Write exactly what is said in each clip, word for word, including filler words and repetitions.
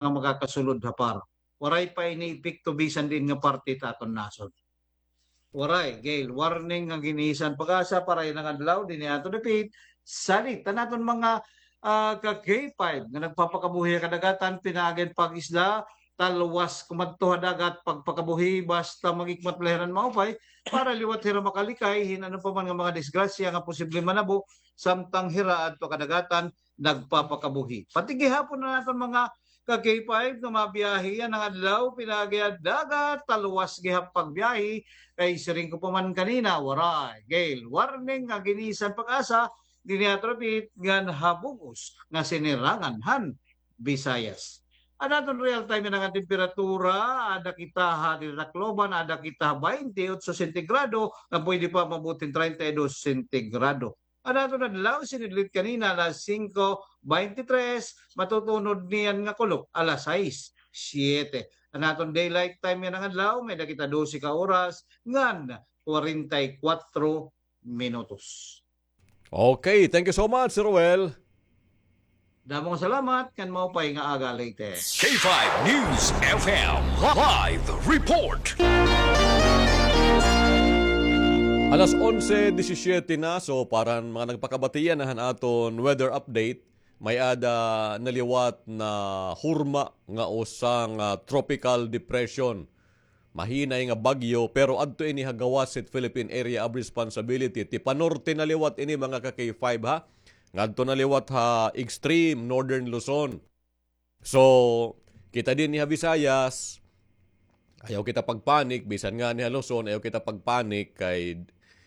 nga makakasulod ha PAR. Waray pa ini epekto bisan diin nga parte hit aton nasod. Waray, gale warning nga ginisan PAGASA para yana nga adlaw dinhi ha aton dapit. Salit an aton mga, ah, ka K five nga nagpapakabuhi ha kadagatan, pinaagi han pag-isda, talwas kumadto ha dagat, pagpakabuhi, basta mag-ikmat la hira hin maupay, para liwat hira makalikay hin ano pa man nga mga disgrasya nga posible manabo, samtang hira adto ha kadagatan, nagpapakabuhi. Pati gihapon an aton mga ka K five nga mabiyahe yana nga adlaw, pinaagi ha dagat, talwas gihap pagbiyahe, kay siring ko pa man kanina, waray gale warning nga ginisan PAGASA dinhi ha aton dapit ngan ha bug-os nga sinirangan han Visayas. An aton real time yana nga temperatura, ada kita ha diri Tacloban, ada kita ha twenty-eight sentigrado, nga pwede pa maabot hin treinta y dos sentigrado. An aton adlaw, sinidlit kanina, alas singko beintitres, matutunod niyan nga kulop, alas sais, siyete. An aton daylight time yana nga adlaw, may-ada kita dose ka oras ngan kwarenta y kwatro minutos. Okay, thank you so much, Sir Ruel. Damo nga salamat, ngan maupay nga aga, Leyte. K five News F M live report. Alas onse disisiete na, so para han mga nagpakabatian han aton weather update, may-ada naliwat na hurma nga usa nga tropical depression. Mahinay nga bagyo, pero adto ini ha gawas hit Philippine Area of Responsibility. Tipanorte na liwat ini, mga ka K five, ha. Ngadto na liwat ha extreme northern Luzon. So, kita dinhi ha Visayas, ayaw kita pagpanik, bisan ngani ha Luzon, ayaw kita pagpanik, kay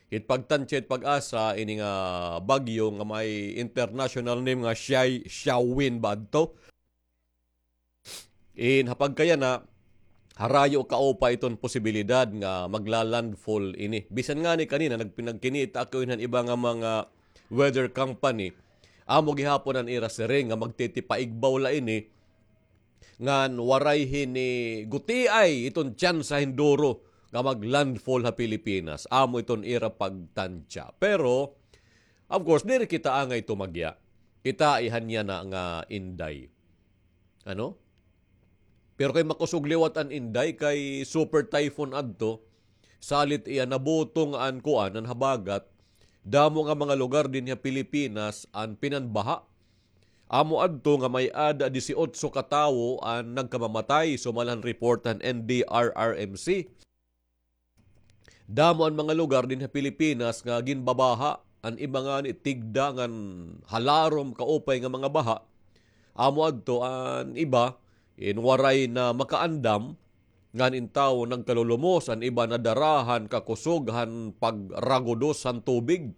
hit pagtansya hit PAGASA, ini nga bagyo nga may international name nga Shai-, Xiaowin ba adto? In ha pagkayana, harayo kaupay iton posibilidad nga magla-landfall ini. Bisan ngani kanina, nagpinagkinita ako hin iba nga mga weather company. Amo gihapon an ira siring nga magtitipaigbaw la ini, ngan waray hini gutiay iton tsansa hin duro nga mag-landfall ha Pilipinas. Amo iton ira pagtansya. Pero, of course, diri kita angay tumagya. Kita ihan yana nga Inday. Ano? Pero kay makusog liwat an Inday kay super typhoon adto, salit iya nabutong an kuan, an habagat, damo nga mga lugar dinhi ha Pilipinas an pinanbaha. Amo adto nga may-ada disiotso ka tawo an nagkamamatay, sumala han report han N D R R M C. Damo an mga lugar dinhi ha Pilipinas nga ginbabaha, an iba ngani tigda ngan halarom kaupay nga mga baha. Amo adto an iba, in waray na makaandam, ngan in tawo nagkalulumos, an iba nadara han kakusog han pagragudos han tubig.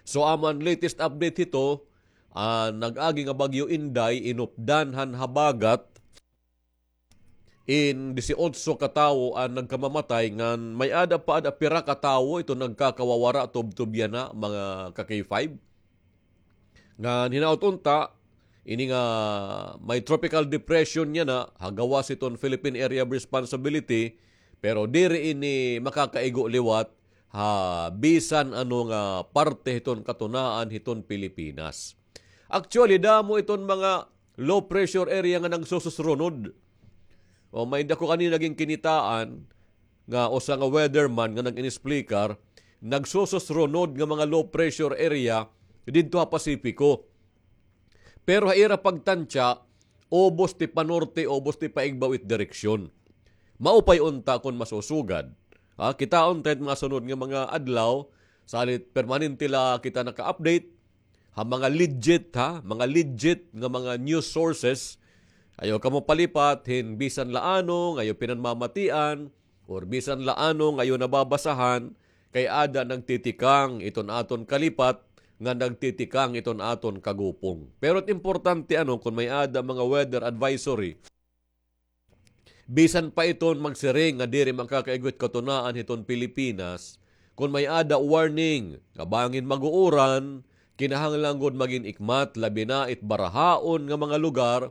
So, amo an latest update hito, an nag-agi nga Bagyo Inday, inupdan han habagat, in disiotso ka tawo an nagkamamatay, ngan may-ada pa ada pira ka tawo iton nagkakawawara tubtob yana, mga ka K five. Ngan hinaot unta, ini nga may tropical depression yana, ha gawas hiton Philippine Area of Responsibility, pero diri ini makakaigo liwat ha bisan ano nga parte hiton katunaan hiton Pilipinas. Actually, damo iton mga low pressure area nga nagsususrunod. O, may-ada ko kanina ginkinitaan nga usa nga weatherman nga nag-inexplikar, nagsususrunod nga mga low pressure area didto ha Pasipiko. Pero ha ira pagtansya, ubos ti panorte, ubos ti paigbaw it direksyon. Maupay unta kon masusugad. Ha, kitaon ta it mga sunod nga mga adlaw, salit permanente la kita naka-update ha mga legit, ha, mga legit nga mga news sources. Ayaw kamo palipat hin bisan la ano nga iyo pinanmamatian, or bisan la ano nga iyo nababasahan, kay ada nagtitikang iton aton kalipat, nga nagtitikang iton aton kagupong. Pero it importante, ano, kon may-ada mga weather advisory, bisan pa iton magsiring nga diri makakaigo it katunaan hiton Pilipinas, kon may-ada warning nga bangin mag-uuran, kinahanglan gud magin ikmat, labi na it barahaon nga mga lugar,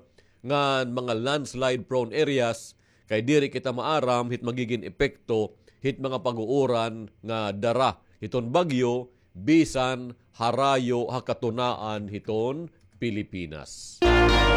ngan mga landslide prone areas, kay diri kita maaram hit magigin epekto hit mga pag-uuran nga dara hiton bagyo bisan harayo ha katunaan hiton Pilipinas.